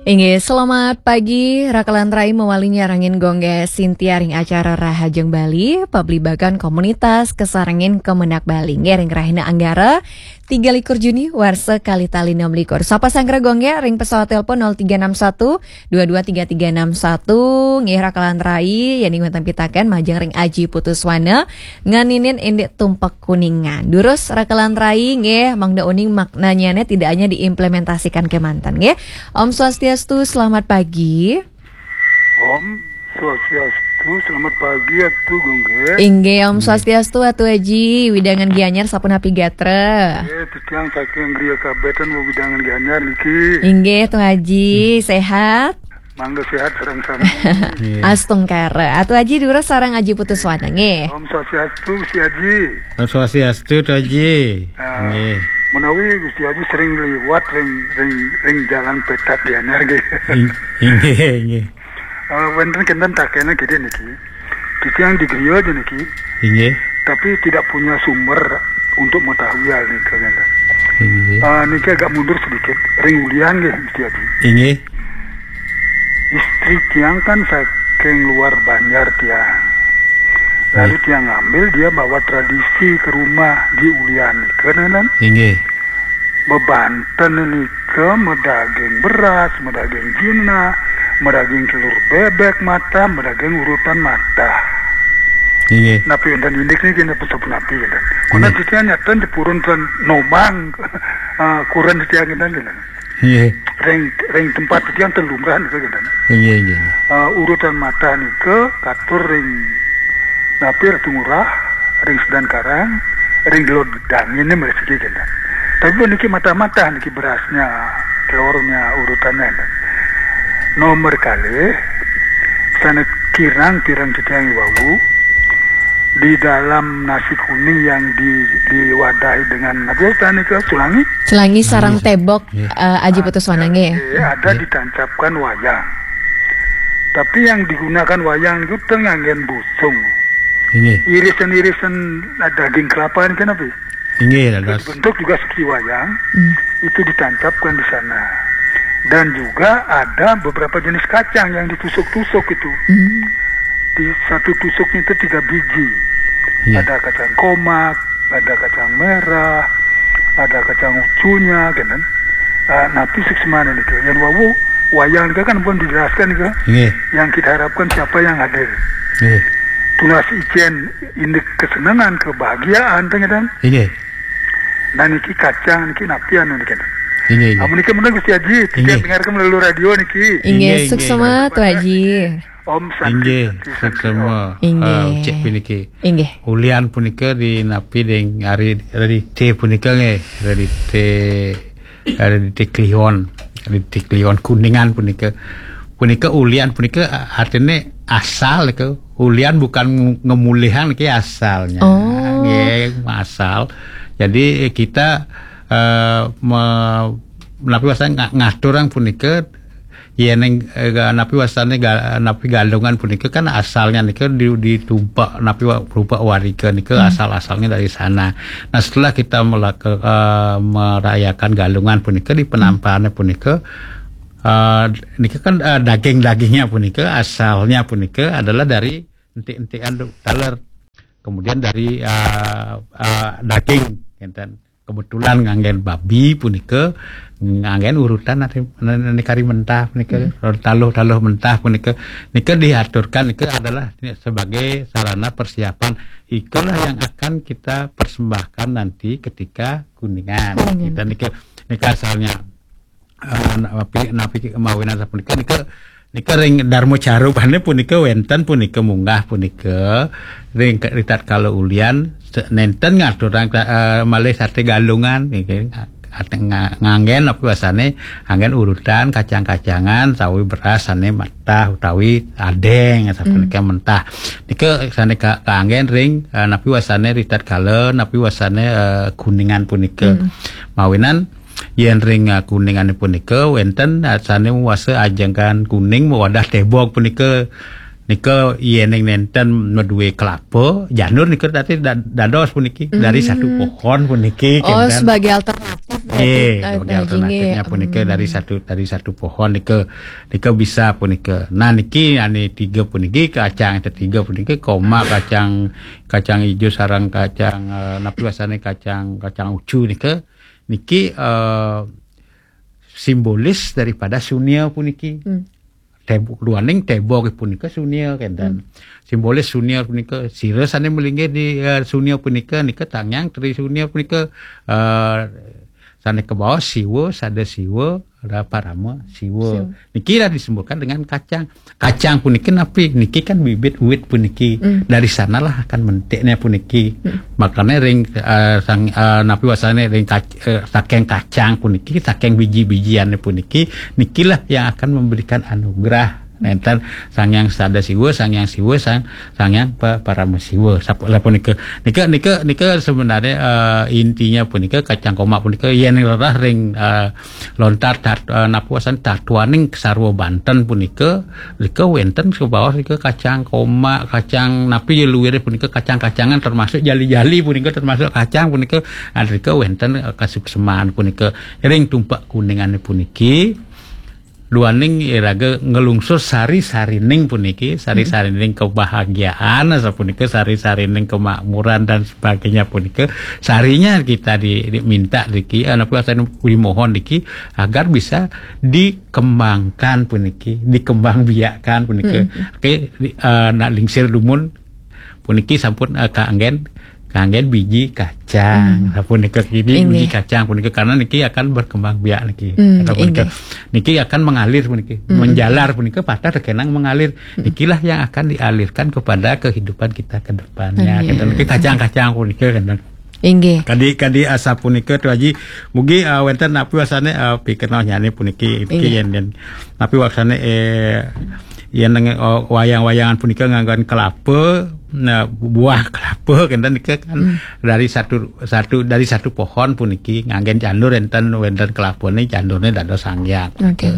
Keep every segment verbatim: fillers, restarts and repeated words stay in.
Inggih, selamat pagi. Rakalan rai mawali nyarengin Gung Gé Sintia ring acara Rahajeng Bali, pablibakan komunitas kasarengin Kemenag Bali. Inggih, ring rahina Anggara, tiga likur Juni, warsa kalih tali enam likur. Sapa sanggra Gung Gé ring pesawat telepon nol tiga enam satu dua dua tiga tiga enam satu. Inggih, rakalan rai, yén wénten pitakén majeng ring Aji Putuswana, nganinin indik tumpek Kuningan. Durus rakalan rai nggih, mangda uning maknanyané tidak hanya diimplementasikan kémanten nggih. Om Swastiastu, selamat pagi. Om Swastiastu, selamat pagi Atu Gung Gé. Inggih, Om Swastiastu Atu Aji, wewidangan Gianyar sapunapi gatra? Nggih, titiang saking Griya Kabetan wewidangan Gianyar niki. Inggih, Atu Aji, sehat? Mangga sehat sareng sami. Astungkara. Atu Aji durus sareng Aji Putuswana nggih. Om Swastiastu, Gusti Aji. Om Swastiastu, Atu Aji. Ah, nggih. Menawi Gusti Aji sering liwat ring ring ring jalan petak Gianyar nggih. Ing- Inggih, inggih. Eh, wénten kinten takéna gedé niki. Titiang di griya aja niki. Inggih. Tapi tidak punya sumber untuk mengetahui hal niki, kinten. Inggih. Eh, niki agak mundur sedikit. Ring Ulian nggih, Gusti Aji. Inggih. Istri tiang kan saking luar Banjar tiang. Lalu tiang ngambil dia bawa tradisi ke rumah di Ulian nika, kan? Inggih. Bebanten nika medaging beras, medaging jinah, medaging telur bebek matah, medaging urutan matah. Inggih. Napi wénten indik niki, napi sapunapi kinten. Kunan titiang nyatan dipurun ten nomang, eh, kuren titiang kinten, kinten. Nggih. Ring ring tempat titiang ten lumrah nika kinten. Nggih, nggih. Eh, urutan matah nika katur ring napi Ratu Ngurah, ring Sedan Karang, ring Delod Gedang, ini mresiki kinten. Tapi niki matah-matah niki berasnya, telurnya, urutannya kinten. Nomor kalih, sané kirang-kirang titiang iwau, di dalam nasi kuning yang di, diwadahi dengan napi wasta nika, culangi? Culangi sareng tébok, eh, Aji Putuswana nggih. Eh, ada ditancapkan wayang. Tapi yang digunakan wayang itu ten nganggén busung. Inggih. Irisan-irisan daging kelapa ini kan apa? Inggih, dados. Bentuk juga seperti wayang, itu ditancapkan di sana. Dan juga ada beberapa jenis kacang yang ditusuk-tusuk itu. Di satu tusuknya itu tiga biji. Iya. Ada kacang komak, ada kacang merah, ada kacang ucunya, kan? Ah, napi suksmane nika. Yén wau wayang nika kan pun dijelaskan nika. Nggih. Yang kita harapkan siapa yang hadir. Nggih. Tunas icén indik kesenangan, kebahagiaan, teh, kan? Nggih. Nah, niki kacang niki napi anu niki. Inggih, inggih. Amun niki menawi Gusti Aji, kita dengarkan melalui radio niki. Inggih, suksma, Atu Aji. Om Santi. Inggih, Santi, suksma. Inggih. Ah, cek puniki. Inggih. Ulian punika di napi ding ari, ari té punika nggih, ari té, ari té Kliwon, ari té Kliwon Kuningan punika. Punika ulian punika artine asal ke. Ulian bukan ngemulihang ke asalnya. Oh. Nggih, asal. Jadi kita eh, me, napi wastane nga- ngaturang punika yén eh, ga- napi wastane ga- napi Galungan punika kan asalnya nika di, di rupa napi wa- rupa warga nika asal-asalnya dari sana. Nah, setelah kita melak- eh, merayakan Galungan punika di penampaannya punika eh, nika kan eh, daging-dagingnya punika asalnya punika adalah dari enti-entian taler. Kemudian dari eh, eh, daging, enten. Kebetulan nganggén babi punika nganggén urutan nani, nani kari mentah punika, taluh-taluh mentah punika, nika diaturkan nika adalah sebagai sarana persiapan ikalah yang akan kita persembahkan nanti ketika Kuningan. Kuningan. Kita nika nika asalnya eh, napi napi mawinan sapunika nika nika ring Darma Carubane punika wénten punika munggah punika ring ritatkala ulian se- nénten ngaturang eh, malih saté Galungan niki. Ate- nga- nganggén apa biasane nganggén urutan kacang-kacangan sawi beras sane mentah utawi adeng sapunika mentah. Nika sane ka- kaanggén ring eh, napi wasane ritatkala napi wasane eh, Kuningan punika. Mawinan yén ring eh, Kuningane punika wénten eh, sane wasa ajengan kuning mawadah tebog punika Nika yéning nénten madué kelapa, janur nika tadi da-, dados puniki dari satu pohon puniki, oh, kénten. Sebagai alternatif berarti. Eh, eh, sebagai alternatifnya punika dari satu, dari satu pohon nika, nika bisa punika. Nah, niki ané tiga puniki, kacang tetiga puniki, komak, kacang, kacang ijo sareng kacang, eh, napi wastané, kacang, kacang ucu nika, niki, eh, simbolis daripada sunia puniki. Hmm. Tebo-, duaning tebo punika sunia kénten. Hmm. Simbolis sunia punika, sira sané malinggih di, eh, sunia punika, nika Sang Hyang Tri Sunia punika, eh, sané kabaos Siwa, Sada Siwa, Parama Siwa. Siwa. Niki lah disembolkan dengan kacang. Kacang puniki napi? Niki kan bibit wit puniki. Hmm. Dari sanalah akan mentiknya puniki. Hmm. Makanya ring, eh, sang, eh, napi wastané ring kac-, eh, saking kacang puniki, saking biji-bijiannya puniki, nikilah yang akan memberikan anugerah. Nénten Sang Hyang Sada Siwa, Sang Hyang Siwa, Sang, Sang Hyang Pa-, Parama Siwa. Sap-, lah punika. Nika, nika, nika sebenarnya, eh, intinya punika kacang komak punika yén rerah ring, eh, lontar tat-, eh, napi wastané tatuaning sarwa Banten punika, nika wénten kabaos nika kacang komak, kacang napi ya luwiré punika kacang-kacangan termasuk jali-jali punika termasuk kacang punika, ah, nika wénten, eh, kasukseman punika ring tumpak kuningané puniki. Duaning iraga nglungsur sari-sarining puniki, sari-sarining kebahagiaan, sapunika sari-sarining kemakmuran dan sebagainya punika, sarinya kita di, diminta niki, eh, napi wastané dimohon niki, agar bisa dikembangkan puniki, dikembangbiakkan puniki. Hmm. Oke, di, eh, nak lingsir dumun puniki sampun, eh, kaanggén, kaanggén biji kacang. Hmm. Sapunika kini biji kacang punika karena niki akan berkembang biak niki. Hmm, kata punika. Niki akan mengalir puniki, hmm, menjalar punika patah terkenang mengalir. Hmm. Nikilah yang akan dialirkan kepada kehidupan kita ke depannya. Amin. Kata niki kacang-kacang punika kan. Inggih. Kadi, kadi asapunika Tu Aji, mugi, eh, wénten napi wastané, eh, pikenohnyané puniki, inggih, yén, yén napi wastané, eh, yén neng-, oh, wayang-wayangan punika nganggon kelapa, nah, buah kelapa kénten nika kan, hmm, dari satu, satu, dari satu pohon puniki nganggén janur énten, wénten kelapané, janurné dados Sang Hyang. Oke,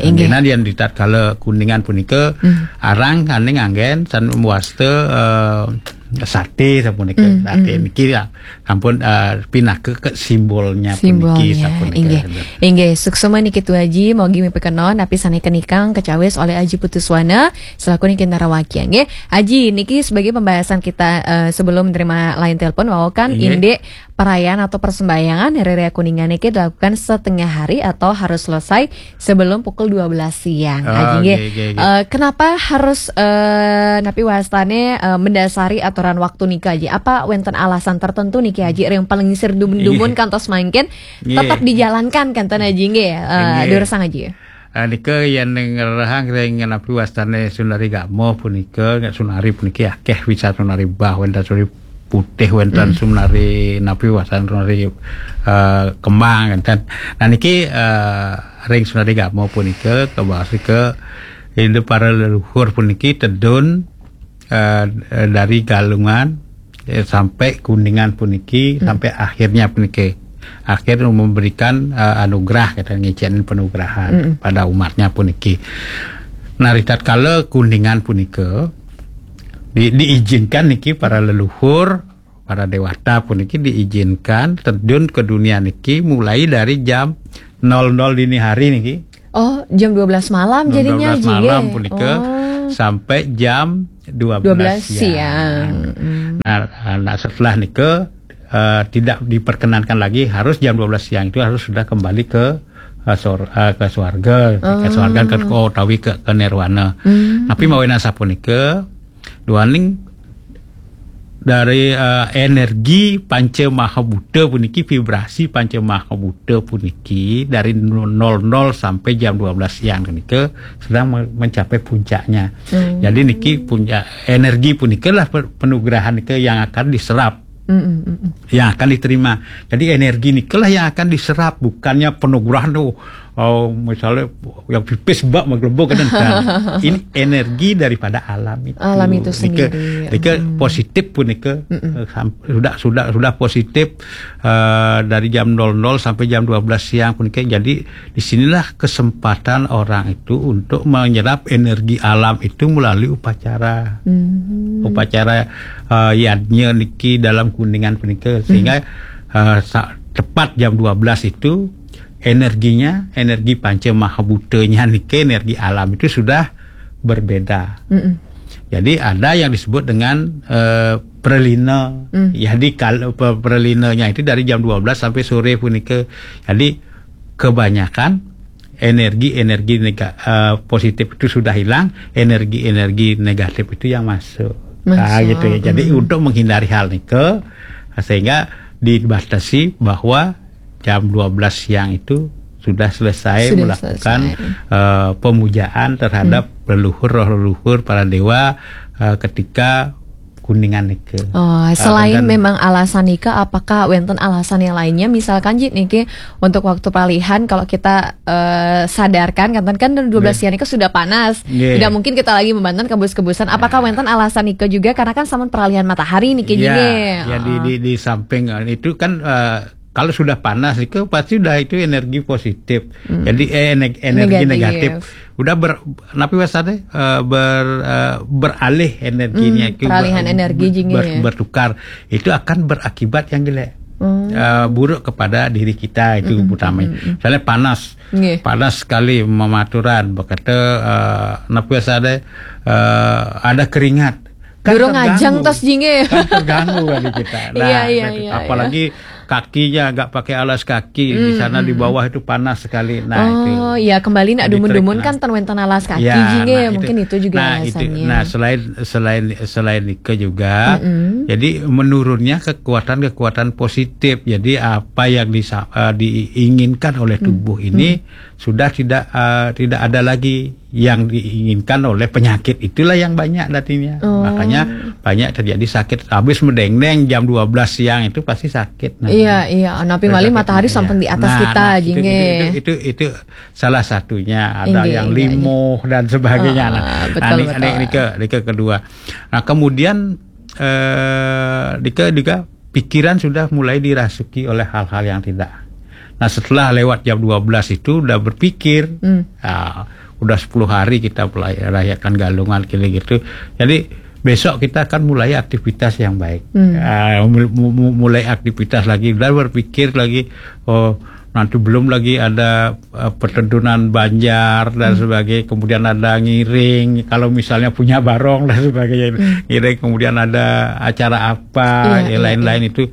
inggih. Yén di tatkala kuningan punika, hmm, arang sané nganggén san wasta, eh, saté sapunika. Hmm, saté, hmm, niki ya sampun, eh, pinaka ke simbolnya puniki. Simbolnya, sapunika. Inggih. Inggih, suksma niki Tu Aji, mugi mipikenoh napi sané kenikang kacawis olih Aji Putuswana selaku niki narawakian, nggih. Aji, niki sebagai pembahasan kita, eh, sebelum menerima line telepon, wawakan, inggih, indik perayaan atau persembahyangan Hari Raya Kuningan niki dilakukan setengah hari atau harus selesai sebelum pukul dua belas siang. Oh, Aji, nggih. Nggih, nggih, nggih. Eh, kenapa harus, eh, napi wastané, eh, mendasari aturan waktu nika, Aji? Apa wénten alasan tertentu niki, Aji, yang paling sir dumun-dumun, nggih, kantos mangkin, nggih, tetap dijalankan kénten, Aji, nggih? Eh, nggih. Durusang, Aji. Eh, nika yén ngrerehang ring napi wastané sunari gama punika, sunari puniki akéh bisa sunari bah wénten sunari putih wénten, hmm, sunari napi wastané sunari, eh, kembang wénten. Nah niki, eh, ring sunari gama punika kabaos nika indu para leluhur puniki tedun, eh, eh, dari Galungan, eh, sampai Kuningan puniki, hmm, sampai akhirnya puniki. Akhir memberikan, eh, anugerah, kata ngicén penugrahan, hmm, pada umatnya puniki. Nah, ritatkala Kuningan punika di-, diizinkan niki para leluhur, para dewata puniki diizinkan terjun ke dunia niki mulai dari jam nol nol dini hari niki. Oh, jam dua belas malam jadinya, jam dua belas malam, Ji, nggih, punika, oh, sampai jam dua belas, dua belas siang, siang. Hmm. Nah, nah, setelah nika, eh, tidak diperkenankan lagi, harus jam dua belas siang itu harus sudah kembali ke, eh, sor-, eh, ke swarga, ke, oh, swarga, ke, oh, utawi ke, ke nirwana. Hmm. Tapi mawinan sapunika, duaning dari, eh, energi panca maha buta puniki, vibrasi panca maha buta puniki dari nol nol sampai jam dua belas siang punika sedang me-, mencapai puncaknya. Hmm. Jadi niki puncak energi punika lah pe-, penugrahan nika yang akan diserap. Hmm, hmm, hmm, hmm. Yang akan diterima. Jadi energi nikalah yang akan diserap, bukannya penugrahan tuh, Oh, misalnya yang pipis bak menggelembung kan, ini energi daripada alam itu. Alam itu sendiri. Nika positif pun nika eh, sudah sudah sudah positif uh, dari jam nol nol sampai jam dua belas siang pun nika. Jadi di sinilah kesempatan orang itu untuk menyerap energi alam itu melalui upacara. Hmm. Upacara uh, yadnya niki dalam Kuningan punika sehingga hmm. uh, tepat jam dua belas itu energinya, energi panca mahabutanya niki, energi alam itu sudah berbeda. Mm -mm. Jadi ada yang disebut dengan uh, pralina. Mm. Jadi kalau pralinanya itu dari jam dua belas sampai sore punika. Jadi kebanyakan energi-energi uh, positif itu sudah hilang, energi-energi negatif itu yang masuk. Nah, gitu ya. Jadi mm. untuk menghindari hal nike sehingga dibatasi bahwa jam dua belas siang itu sudah selesai sudah melakukan selesai. Uh, pemujaan terhadap hmm. leluhur roh leluhur para dewa uh, ketika Kuningan nike. Oh, selain uh, memang alasan nike, apakah wenten alasan yang lainnya? Misalkan Ji niki untuk waktu peralihan, kalau kita uh, sadarkan, kan kan dua belas siang nike sudah panas, yeah. Tidak mungkin kita lagi membantu kebus-kebusan. Apakah yeah. wenten alasan nike juga? Karena kan sama peralihan matahari nike yeah. Ji. Ya, di, di, di samping itu kan uh, kalau sudah panas itu pasti udah itu energi positif. Hmm. Jadi eh, energi negatif. negatif. Udah ber, napi wasane uh, ber, uh, beralih energinya hmm, itu peralihan ber, energi ber, ber, bertukar. Itu akan berakibat yang jelek. Hmm. Uh, buruk kepada diri kita itu hmm, utama. Hmm, hmm. Misalnya panas. Nggih. Panas sekali mematuran berkata uh, napi wasane uh, ada keringat. Kan durung ajeng tos jinge. Kan terganggu kan kita. Nah, iya, iya, iya, apalagi iya. Kakinya agak pakai alas kaki mm, di sana mm. Di bawah itu panas sekali. Nah, oh, itu. Ya kembali nak dumun-dumun nah. Kan ten wenten alas kaki ya, jinge nah, mungkin itu, itu juga nah, alasannya. Itu. Nah, selain selain selain itu juga mm -hmm. Jadi menurunnya kekuatan-kekuatan positif. Jadi apa yang di, uh, eh, diinginkan oleh tubuh mm -hmm. Ini mm -hmm. Sudah tidak uh, tidak ada lagi yang diinginkan oleh penyakit itulah yang banyak datinya. Oh. Makanya banyak terjadi sakit habis mendengdeng jam dua belas siang itu pasti sakit. Nah, iya, iya. Napi malih matahari samping di atas nah, kita nah, itu, itu, itu, itu salah satunya ada Inggih, yang limoh dan sebagainya. Uh, nah, betul, nah, ini, betul. Ini, ini ke ini ke kedua. Nah, kemudian eh ini ke juga pikiran sudah mulai dirasuki oleh hal-hal yang tidak. Nah, setelah lewat jam dua belas itu udah berpikir, hmm. Nah, udah sepuluh hari kita rayakan Galungan kira gitu. Jadi besok kita akan mulai aktivitas yang baik. Hmm. Uh, mulai aktivitas lagi, udah berpikir lagi, oh nanti belum lagi ada uh, pertedunan banjar dan hmm. Sebagainya, kemudian ada ngiring, kalau misalnya punya barong dan sebagainya, hmm. Ngiring, kemudian ada acara apa, iya, ya, iya, lain-lain iya. Itu.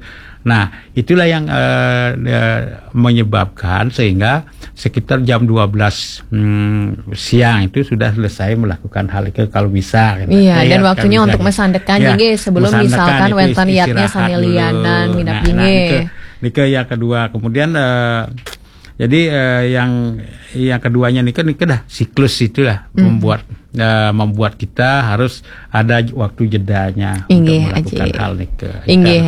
Nah, itulah yang uh, uh, menyebabkan sehingga sekitar jam dua belas hmm, siang itu sudah selesai melakukan hal itu kalau bisa. Gitu. Iya, ya, dan ya, waktunya untuk mesandekan ya, juga sebelum misalkan wenten yadnya sami lianan minap nah, nah, ini. Ini yang kedua. Kemudian uh, jadi uh, yang yang keduanya nih kan dah siklus itulah hmm. Membuat uh, membuat kita harus ada waktu jedanya Inggih, untuk melakukan aji. Hal nih ke Inggih,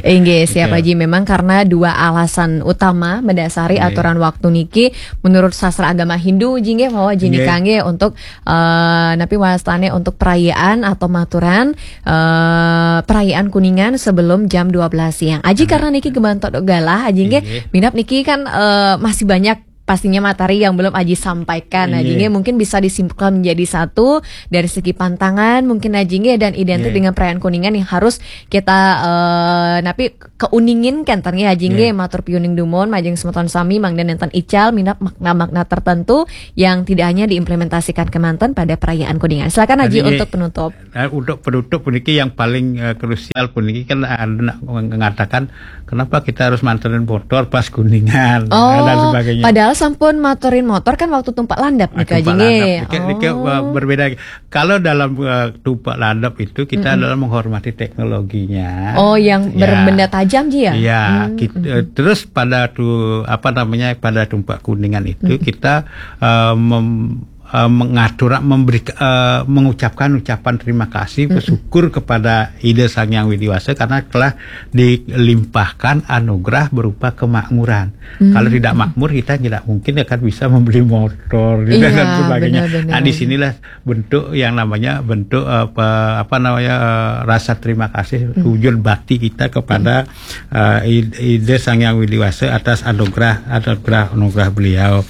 Inggih, siapa Ji? Memang karena dua alasan utama mendasari Inggih. Aturan waktu niki menurut sastra agama Hindu jinge bahwa jini kangge untuk uh, napi wastane untuk perayaan atau maturan uh, perayaan Kuningan sebelum jam dua belas siang. Aji hmm. Karena niki gebantok galah aji nggih. Minap niki kan uh, masih banyak pastinya materi yang belum Aji sampaikan. Nah, Aji mungkin bisa disimpulkan menjadi satu dari segi pantangan mungkin Aji dan identik dengan perayaan Kuningan yang harus kita uh, napi keuningin kan ternyata Aji matur piuning dumun majeng semeton sami mangda nenten ical minap makna-makna tertentu yang tidak hanya diimplementasikan kemanten pada perayaan Kuningan. Silakan Aji untuk penutup. Nah, untuk penutup puniki yang paling uh, krusial puniki kan ada mengatakan kenapa kita harus manterin motor pas Kuningan oh, dan sebagainya. Padahal sampun maturin motor kan waktu tumpak landap nih ah, Aji nggih. Oh. Berbeda. Kalau dalam uh, tumpak landap itu kita mm -mm. Adalah menghormati teknologinya. Oh, yang ya. Berbenda tajam Ji ya? Ya, mm -mm. Kita, uh, terus pada tu apa namanya pada tumpak Kuningan itu mm -mm. Kita uh, mem eh, mengatur, memberi, eh, mengucapkan ucapan terima kasih, bersyukur kepada Ida Sang Yang Widi Wasa karena telah dilimpahkan anugerah berupa kemakmuran. Kalau tidak makmur, kita tidak mungkin akan bisa membeli motor gitu, dan sebagainya. Nah, disinilah bentuk yang namanya bentuk, eh, apa, apa namanya, eh, rasa terima kasih, wujud bakti kita kepada, eh, Id- Ida Sang Yang Widi Wasa atas anugerah, anugerah, anugerah beliau.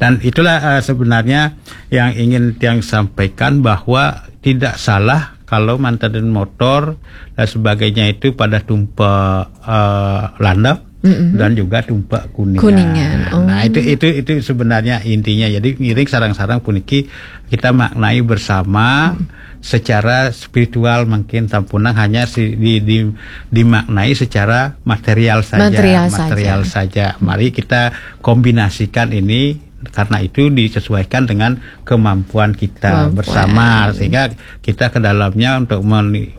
Dan itulah, eh, sebenarnya yang ingin Tiang sampaikan, bahwa tidak salah kalau manten motor dan sebagainya itu pada tumpak, eh, landep dan juga tumpak kuningan. Kuningan, oh. Nah, itu itu itu sebenarnya intinya. Jadi ngiring sareng-sareng puniki kita maknai bersama secara spiritual, mungkin sampunang hanya si, di, di, dimaknai secara material saja. Material Material saja. Saja. Mari kita kombinasikan ini, karena itu disesuaikan dengan kemampuan kita Kemampuan. Bersama, sehingga kita ke dalamnya untuk meni-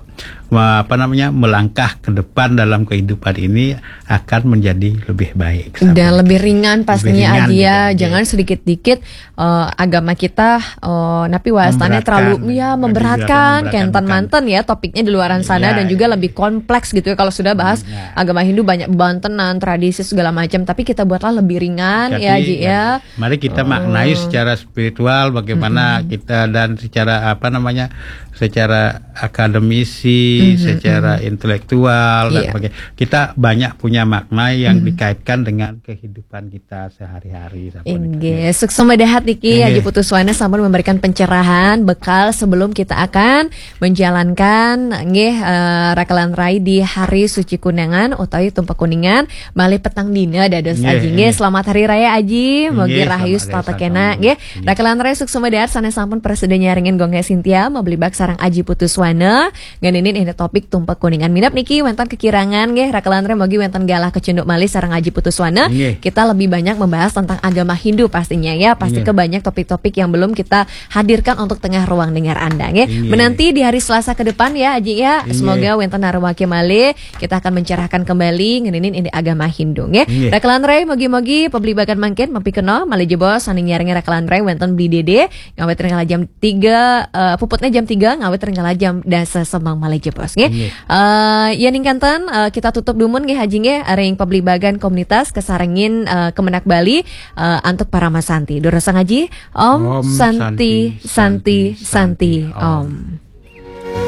me- apa namanya, melangkah ke depan dalam kehidupan ini akan menjadi lebih baik. Dan lebih ringan pastinya, Lebih ringan Aji, ya. juga, Jangan sedikit-dikit, eh, agama kita, eh, napi wastane Memberatkan. Terlalu, ya, memberatkan, Memberatkan, kenten bukan. Manten, ya, topiknya di luaran sana Ya, dan juga ya. Lebih kompleks gitu ya. Kalau sudah bahas Ya. agama Hindu, banyak bebantenan, tradisi segala macam, tapi kita buatlah lebih ringan, Jadi, ya, Aji, ya. Mari kita maknai secara spiritual bagaimana kita, dan secara apa namanya, secara akademisi, secara intelektual, dan Iya. sebagainya. Kita banyak punya makna yang dikaitkan dengan kehidupan kita sehari-hari. Sampun itu. Inggih, suksma dahat niki, Inggih. Aji Putu Swana sampun memberikan pencerahan bekal sebelum kita akan menjalankan nggih, eh, rakelan rai di Hari Suci Kuningan utawi Tumpak Kuningan, malih petang dina dados. Inggih, Aji, nggih. Inggih. Selamat Hari Raya, Aji. Mugi Inggih, rahayu selamat hari setata kena, Sabtu. Nggih. Inggih. Rakelan rai suksma dahat sané sampun prasida nyarengin Gung Hék Sintia, mabli bak sareng Aji Putu Swana. Ngeninin ini topik Tumpak Kuningan. Minab niki wénten kekirangan, nggih. Rakelan rai mugi wénten galah kecunduk malih sareng Aji Putu Swana. Inggih. Kita lebih banyak membahas tentang agama Hindu pastinya, ya. Pasti Inggih. Ke banyak topik-topik yang belum kita hadirkan untuk tengah ruang dengar Anda, nggih. Inggih. Menanti di hari Selasa ke depan, ya, Aji, ya. Inggih. Semoga wénten narwake malih, kita akan mencerahkan kembali ngeninin ini agama Hindu, nggih. Inggih. Rakelan rai mugi-mugi pabligbagan mangkin mampikena malih jebos sané nyarengin rakelan rai wénten Bli Dede ngawit ring kala jam tiga, eh, puputnya jam tiga ngawit ring kala jam dasa semeng malih jebos, nggih. Inggih. Eh, ya ningkanten, eh, kita tutup dumun, nggih, Aji, nggih, ring pabligbagan komunitas kasarengin, eh, Kemenag Bali, eh, antuk Parama Santi. Durusang, Aji. Om Om Santi, Santi, Santi, Santi, Om.